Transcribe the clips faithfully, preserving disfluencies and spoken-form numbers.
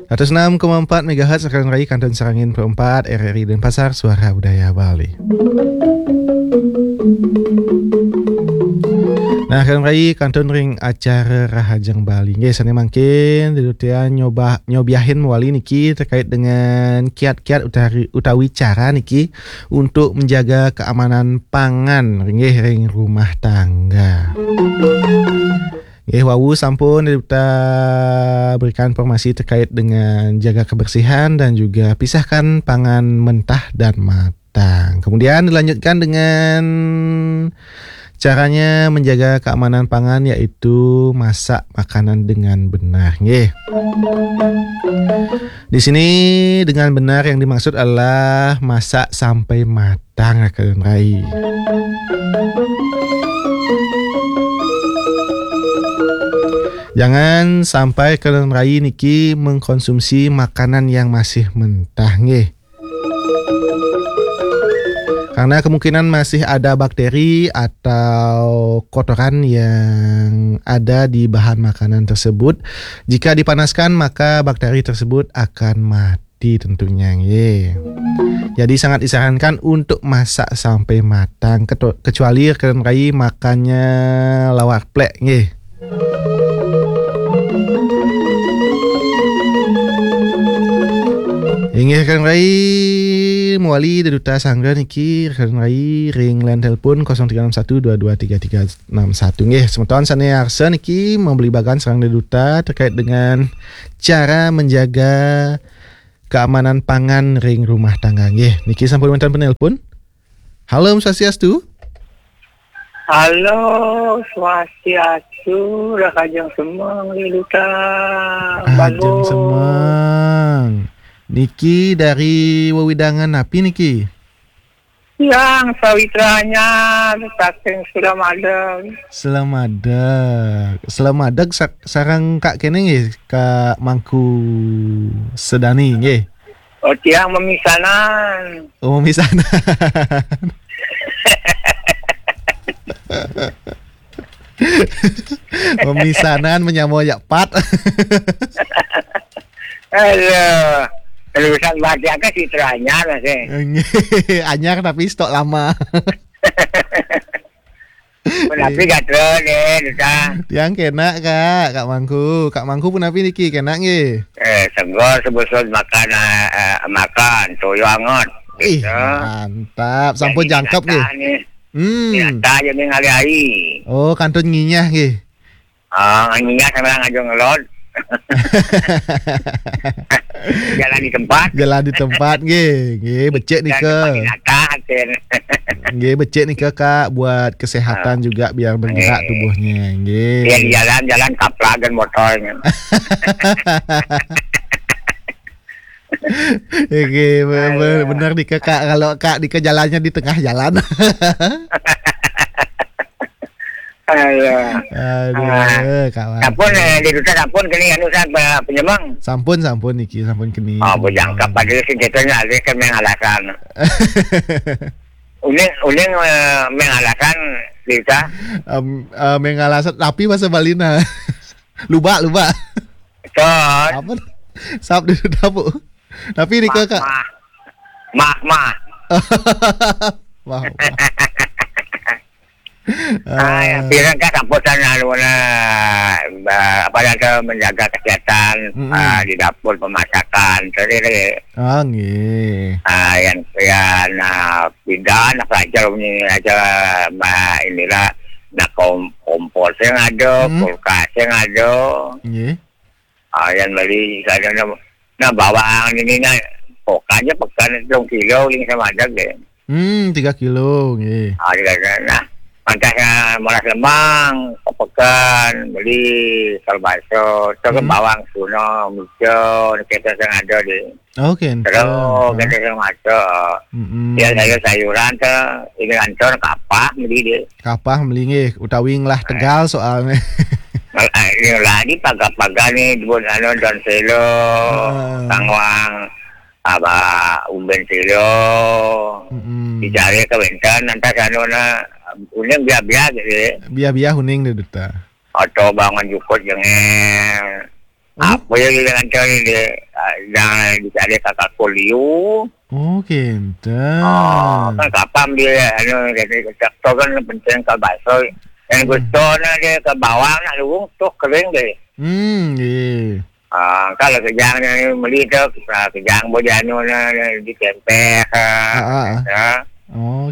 Seratus enam koma empat megahertz, Rekan Rai, kantun sareng Pro empat, R R I Denpasar, Suara Budaya Bali. Nah, Rekan Rai, kantun ring acara Rahajeng Bali. Nggih, sane mangkin Dedutian nyoba, nyobiahin mawali niki terkait dengan kiat-kiat utari, utawi cara niki untuk menjaga keamanan pangan, nggih, ring rumah tangga. Nggih, wau sampun Duta berikan informasi terkait dengan jaga kebersihan dan juga pisahkan pangan mentah dan matang. Kemudian dilanjutkan dengan caranya menjaga keamanan pangan, yaitu masak makanan dengan benar. Nggih. Di sini dengan benar yang dimaksud adalah masak sampai matang, Rekan Rai. Jangan sampai Rekan Rai niki mengkonsumsi makanan yang masih mentah, nggih. Karena kemungkinan masih ada bakteri atau kotoran yang ada di bahan makanan tersebut. Jika dipanaskan, maka bakteri tersebut akan mati tentunya, nggih. Jadi sangat disarankan untuk masak sampai matang, ketu-, kecuali Rekan Rai makannya lawar plek, nggih. Inggih, Rekan Rai, mawali Duta Sangga niki, Rekan Rai, ring line telepon kosong tiga enam satu dua dua tiga tiga enam satu. Nggih, semeton sane arsa niki mabligbagan sareng Duta terkait dengan cara menjaga keamanan pangan ring rumah tangga. Nggih, niki sampun wenten penelpon. Halo, Om Swastiastu. Halo, Swastiastu, Rahajeng Semeng, Duta. Rahajeng Semeng. Niki dari wewidangan napi niki? Tiang Sawitra Anyar, saking Selamadeg. Selamadeg. Selamadeg sa-, sareng Kak kene nggih, Kak Mangku Sedani nggih. Oh, tiang memisanan. Oh, memisanan. Memisanan menyamo jak pat. Aduh, lulusan Batiaka Sitra Anyar masih. Anyar tapi stok lama. Menapi gatra nih, Duta. Tiang kena, Kak, Kak Mangku. Kak Mangku punapi niki, kena nggih? Eh, segar sebusud makan, eh, eh, makan, toyo anget. Ih, gitu. Mantap. Sampun jangkep nggih. Nih. Hmm. Nyata aja nih ngalih ai. Oh, kantun nginyah nggih. Ah, nginyah sama aja ngelot. Jalan di tempat. Jalan di tempat nggih. Nggih, becik nika. Jalan di tempat binatang, Cen. Nggih, becik nika, Kak, buat kesehatan juga biar bergerak tubuhnya. Nggih. Iya, di jalan-jalan kaplagan motornya. Nggih, be-, be-, bener nika, Kak. Kalau Kak nika jalannya di tengah jalan. Aduh. Aduh, ah, Kak Wan. Sampun, eh, di Duta sampun kini anu sa-, pe-, penyemeng. Sampun, sampun niki, sampun kini. Oh, bujang kap pada sing kita nyalih kan main alasan. Uning, uning, eh, main alasan di Duta. Em, eh, main alasan, tapi bahasa Bali nah. Luba, luba. Betul. Apa? Sap di Duta, Bu. Tapi di Kak. Mah, mah. Mah, mah. Wah, wah. Ah, ya, pirang kan samputan anu na, ba-, apa na tu, menjaga kesehatan, mm-mm, ah, di dapur pemasakan, tadi lagi. Ah, nggih. Ah, yang, yang, ah, pindah, nak pelajar punya aja, ma-, inilah, nak kom-, kompor yang ada, mm-mm, kulkas yang ada. Nggih. Ah, yang beli, kadang na, na bawang ini na, pokoknya pekan telung kilo ini sama ada deh. Hmm, tiga kilo, nggih. Ah, dia kata, nah, pantas, ah, malas lemang, ke pekan, beli kalbaso, terus, hmm, bawang suno, mijo, kita sing ada deh. Oke, terus, enten, kita sing ada. Mm-mm. Ya, sayur-sayuran tuh, ini kantor kapah, beli deh. Kapah beli nggih, utawi ngelah tegal soalnya. Ngelah, ini lah, di paga-paga nih, buat anu, daun selo, ah, tangwang, apa, umben silo. Mm-mm. Dicari ke wenten, nanti sana na, uning biar-biar gitu ya. Biar-biar uning deh, Duta. Atau bangun jukut jengel. Tapi dengan tu ni dia, ah, jangan dicari kakak kuliu. Oh, kenten. Oh, kan kapam dia, anu, jadi traktor kan penting ka baso. Yang Hmm. gusto na dia ka bawang nak luung, tuh kering deh. Hmm, iya. Ah, kalau kejang ni meli tu, ah, kejang boleh anu na, na ditempeh ka. Ah, ah, ah. Ya.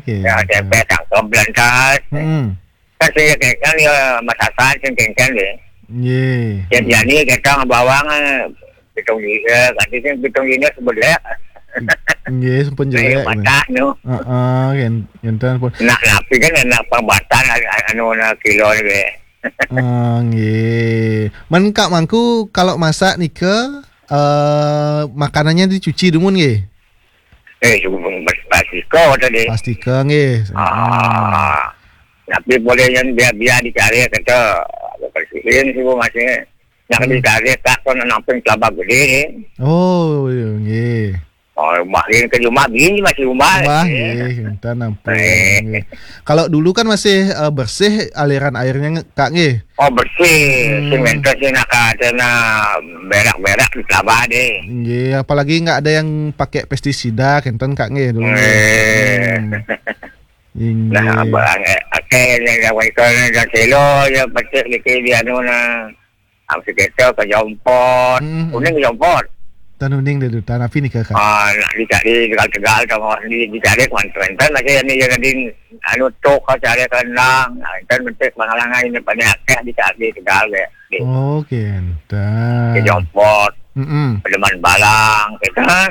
Okey. Ya, tempeh tangkap belantas. Hmm. Kan saya kan, kan dia masakan sing kengkeng deh. Iya. Yang biani kita bawang, eh, pitung lima, ganti sing pitung lima sebelah. Nggih, sampun Saya jelek. Patah tu. Heeh, ken-, kenten pun. Nak napi kan nak pambatan anu na kilo ni deh. Ah, nggih. Men Kak Mangku kalau masak nika, eh, makanannya dicuci dumun nggih? Eh, cuma pas-, pastika tadi. Pastika nggih. Ah. Tapi boleh yang biar-biar dicari kata, bersihin sih masih. Nak Hmm. dicari tak kau nak namping kelapa gede ni. Oh, iya, nggih. Oh, rumah ni ke rumah bini masih rumah. Rumah, Eh. nggih, kenten ampun, Eh. nggih. Kalau dulu kan masih, eh, bersih aliran airnya nge-, Kak nggih. Oh, bersih. Hmm. Sing enten sih nak kata nak berak-berak di kelapa deh. Nggih, apalagi nggak ada yang pakai pestisida, kenten Kak nggih dulu nggih. Eh. Hmm. Inggih. Nah, barang, eh, akeh yang dah waikon dan selo je petik dikit di anu na. Am sekitar ke Jompot. Hmm, hmm. Kuning Jompot. Tan uning deh, tan api ni ke, Kak? Ah, nak dicari tegal-tegal tengok di, dicari kuan-kuan. Kan masih ni yang tadi anu tok kau cari kendang. Nah, kan bentuk penghalangan ini pada akeh dicari tegal deh. Di Oh, kenten. Ke Jompot. Mm-mm. Pedeman Balang, kita.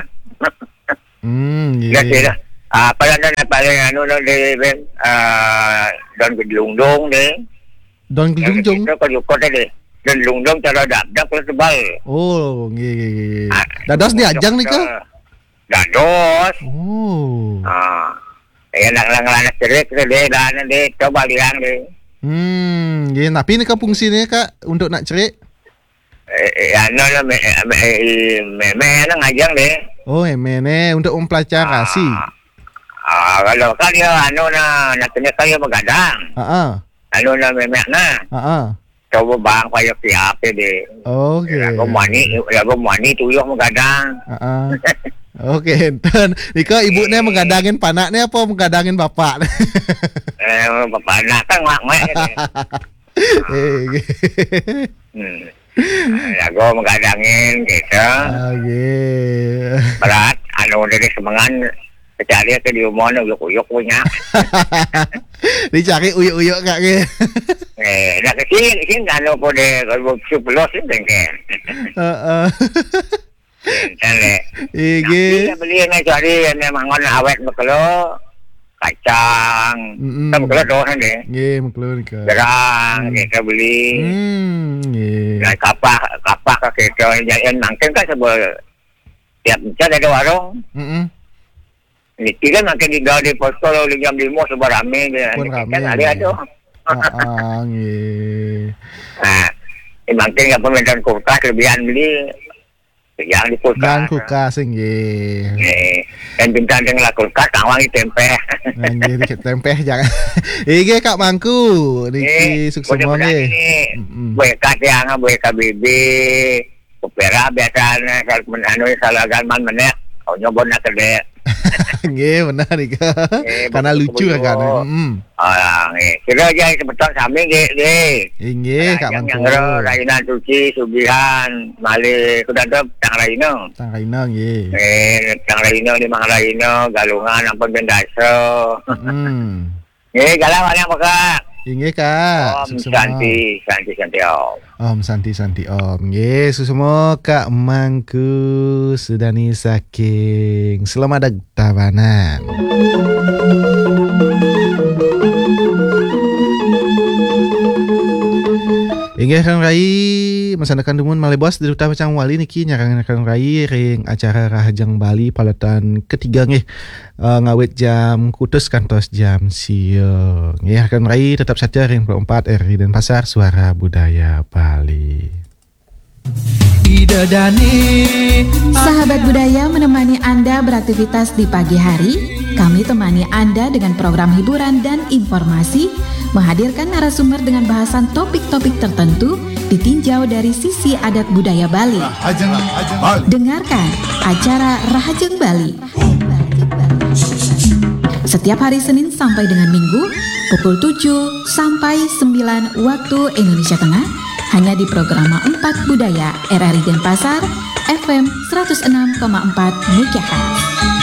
Hmm, Ya, iya. Sih dah. Ah, apa yang ada paling anu no di ben, ah, daun gedlungdung deh. Daun gedlungdung? Kita kau jukut tadi. Daun gedlungdung cara dak dak kalau tebal. Oh, nggih, nggih, nggih. Ah, Dados diajang nika? Dados. Oh. Ah. Ya, nak, nak, nak cerik tu deh, dah, deh, coba liang deh. Hmm, nggih, tapi nika fungsinya, Kak, untuk nak cerik? Eh, eh, anu lah, me-, eh, me-, eh, meme nang ajang deh. Oh, meme ni untuk mempelajari. Ah, kalau kan dia anu na, nak kena kaya begadang. Ha ah. Anu na meme na. Ha ah. Coba bang payah siap deh. Okey. Lagu mani, lagu mani tuyuh begadang. Ha ah. Okey, enten. Ika ibu ni Eh. Menggadangin panak ni apa menggadangin bapak ni? Eh, bapak nak kan mak mak ni. Eh, okey. Hmm. Lagu menggadangin gitu. Okey. Berat, anu dari semengan cari ke di rumah ni uyuk-uyuk punya. Dicari uyuk-uyuk Kak ke? Eh, nak kecil, kecil anu pun deh, kalau sepuluh sih bengkel. Heeh. Kan, eh. Iya, Tapi nggih. Nak beli ni cari yang memang awet bekelo, kacang. Mm-mm. Kan bekelo doh kan deh. Nggih, bekelo nika. Gerang, Hmm. kita beli. Hmm, nggih. Dan kapah, kapah ke kita yang makan kan sebab tiap macam ada warung. Mm-mm. Niki kan makan di di posko lalu jam lima sebab rame je. Pun Niki rame. Kan ada ada. Ah, ah, nggih. Nah, ini makin apa medan kulkas lebihan beli. Jangan di kulkas. Jangan kulkas, nggih. Eh, dan bintang dengan kulkas, tawang di tempeh. Nah, nggih, dikit tempeh jangan. Nggih, Kak Mangku, niki Eh, sukses semua mudah-mudahan nggih. Ini Mm-mm. Buat kat yang, buat K B B, kupera biasanya, kalau men-, anu, kalau agak man menek, kau nyoba nak kedek. Nggih, benar nika. Eh, Karena betul, lucu betul. Kan. Hmm. Ah, nggih. Kira aja sebetul sami nggih, nggih. Inggih, Kak Mangku. Yang Raina Suci, Subihan, Malik, kuda tu Tang Raina. Tang Raina nggih. Eh, Tang Raina di Mang Raina, Galungan ampun Bendasa. Hmm. Nggih, galau banyak Kak. Inggih, Kak. Om Sukses semua. Santi, Santi, Santi Om. Om Santi, Santi Om. Nggih, suksma Kak Mangku Sudani saking Selamat Tabanan. Inggih, Kang Rai, masandakan dumun malih bos di Duta Pacang Wali niki nyarangaken Kang Rai ring acara Rahajeng Bali paletan ketiga nggih. Eh, ngawit jam kutus kantos jam sia. Nggih, Kang Rai tetap satia ring puluh empat R R I Denpasar, Suara Budaya Bali. Ida Dani. Sahabat budaya menemani Anda beraktivitas di pagi hari. Kami temani Anda dengan program hiburan dan informasi, menghadirkan narasumber dengan bahasan topik-topik tertentu, ditinjau dari sisi adat budaya Bali. Dengarkan acara Rahajeng Bali setiap hari Senin sampai dengan Minggu pukul tujuh sampai sembilan waktu Indonesia Tengah, hanya di Programa empat Budaya R R I Denpasar, F M seratus enam koma empat megahertz.